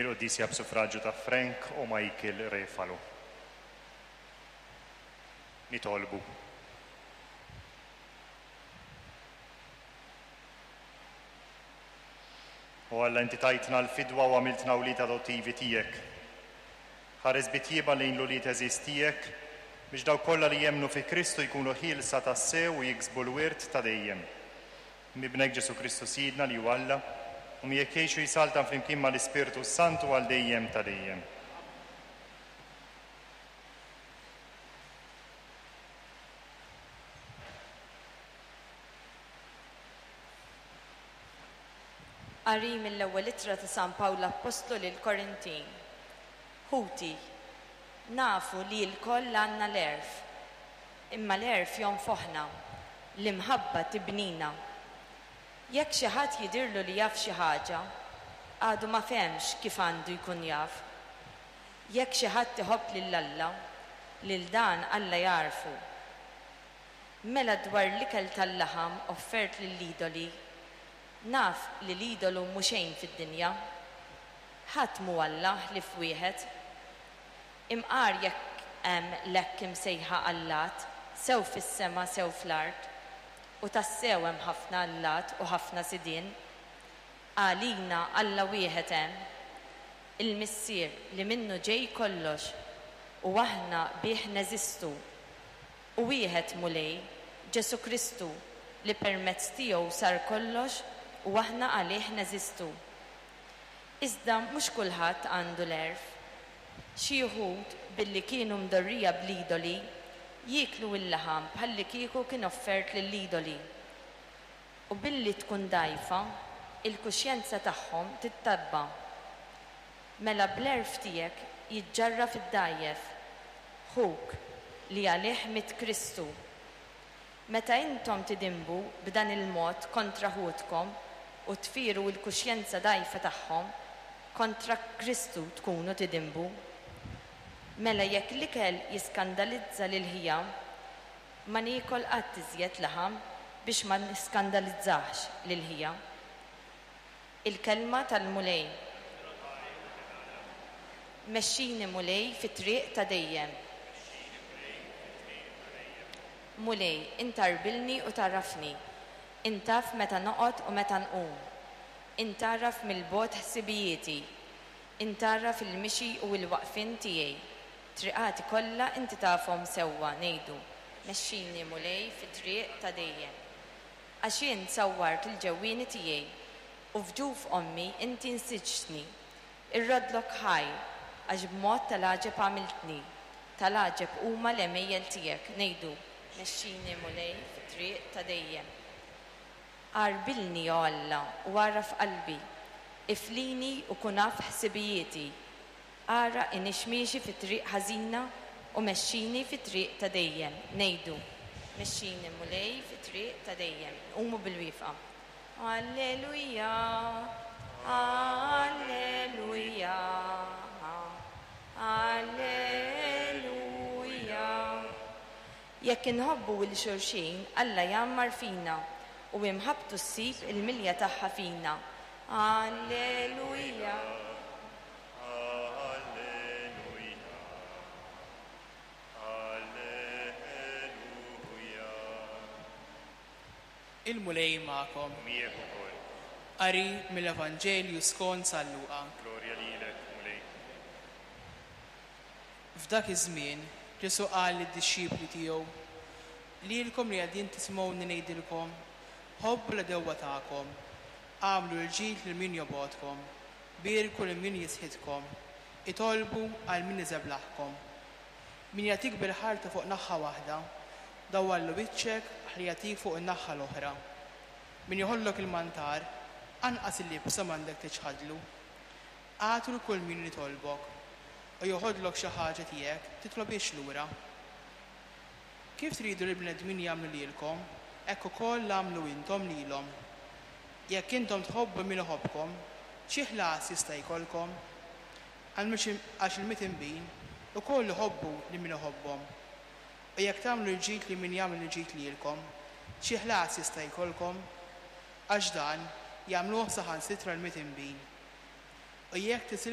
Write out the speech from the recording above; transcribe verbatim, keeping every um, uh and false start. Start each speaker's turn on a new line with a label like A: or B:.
A: Il-quddiesa b'suffraġġju ta' Frank u Michael Refalo. Nitolbu. O Alla, inti tajtna l-fidwa u għamiltna wlied adottivi tiegħek. Ħares bi tjieba lejn l-ulied għeżież tiegħek biex dawk kollha li jemmnu fi Kristu jkunu ħielsa tassew u jiksbu l-wirt ta' dejjem. M'Ibnek Ġesù Kristu Sidna li hu Alla, u miegħek jgħix u jsaltan flimkien mal-Ispirtu s-Santu għal dejjem ta' dejjem.
B: Qari mill-ewwel ittra ta' San Pawl Appostlu lill-Korintin. Ħuti, nafu li lkoll għandna l-għerf, imma l-għerf jonfoħna, l-imħabba tibnina. Jekk xi ħadd jidhirlu li jaf xi ħaġa, għadu ma fehemx kif għandu jkun jaf. Jekk xi ħadd iħobb lil Alla, lil dan Alla jagħrfu. Mela dwar l-ikel tal-laħam offert lill-idoli, naf li l-idolu mhu xejn fid-dinja. Ħadd mhu Alla ħlief wieħed. Imqar jekk hemm l-hekk imsejħa allat, sew fis-sema sew fl-art, u tassew hemm ħafna allat u ħafna sidien, għalina Alla wieħed hemm, il-Missier li minnu ġej kollox, u aħna bih neżistu. U wieħed Mulej, Ġesù Kristu, li permezz tiegħu sar kollox u aħna għalih neżistu. Iżda mhux kulħadd għandu l-għerf. Xi wħud, billi kienu mdorrija bl-idoli, jieklu l-laħam bħallikieku kien offert lill-idoli. U billi tkun dgħajfa, il-kuxjenza tagħhom tittabba. Mela bl-għerf tiegħek jiġġarraf id-dgħajjef, ħuk li għalih miet Kristu. Meta intom tidinbu b'dan il-mod kontra ħutkom u tfiru l-kuxjenza dgħajfa tagħhom, kontra Kristu tkunu tidinbu. Mela jekk l-ikel jiskandalizza lil ħija, ma niekol qatt iżjed laħam biex ma niskandalizzax lil ħija. Il-kelma tal-Mulej. Mexxini Mulej fit-triq ta' dejjem. Mulej, int tgħarbilni u tagħrafni. Int taf meta noqgħod u meta nqum. Int tagħraf mill-bogħod ħsibijieti. Int tagħraf il-mixi u l-waqfien tiegħi. Triqati kollha inti tafhom sewwa, ngħidu. Mexxini Mulej fit-triq ta' dejjem. Għax int sawwart il-ġewwieni tiegħi, u f'ġuf ommi inti nsiġtni. Irroddlok ħajr, għax b'mod tal-għaġeb għamiltni. Tal-għaġeb huma l-għemejjel tiegħek, ngħidu. Mexxini Mulej fit-triq ta' dejjem. Għarbilni, o Alla, u agħraf qalbi. Iflini u kun af ħsibijieti. Ara iniex miexi fi triq ħażina u mexxini fi triq ta' dejjem. Ngħidu. Mexxini Mulej fi triq ta' dejjem. Qumu bil-wieqfa. Alleluja, alleluja, alleluja. Jekk inħobbu 'l xulxin, Alla jgħammar fina u imħabbtu ssib il-milja tagħha fina. Alleluja.
A: Alleluja. Alleluja.
C: Il-Mulej magħkom.
A: U miegħek ukoll.
C: Qari mill-Evanġelju skont San Luqa.
A: Glorja lilek, Mulej.
C: F'dak iż-żmien Ġesù qal lid-dixxipli tiegħu: Lilkom li qegħdin tisimgħuni ngħidilkom, ħobbu l-għedewwa tagħkom, agħmlu l-ġid lil min jobgħodkom, bierku lil min jisħitkom, itolbu għal min iżeblaħkom. Min jagħtik bil-ħarta fuq naħa waħda, dawwarlu wiċċek ħalli jagħtik fuq in-naħa l-oħra. Min jeħodlok il-mantar, anqas il-libsa m'għandek tiċħadlu. Agħtu lil kull min jitolbok, u joħodlok xi ħaġa tiegħek titlobhiex lura. Kif tridu li l-bnedmin jagħmlu lilkom, hekk ukoll agħmlu intom lilhom. Jekk intom tħobbu min iħobbkom, xi ħlas jista' jkollkom? Għax il-midinbin ukoll iħobbu lil min iħobbhom. U jekk tagħmlu l-ġid lil min jagħmel il-ġid lilkom, xi ħlas jista' jkollkom? Għax dan jagħmluh saħansitra l-midinbin. U jekk tisilfu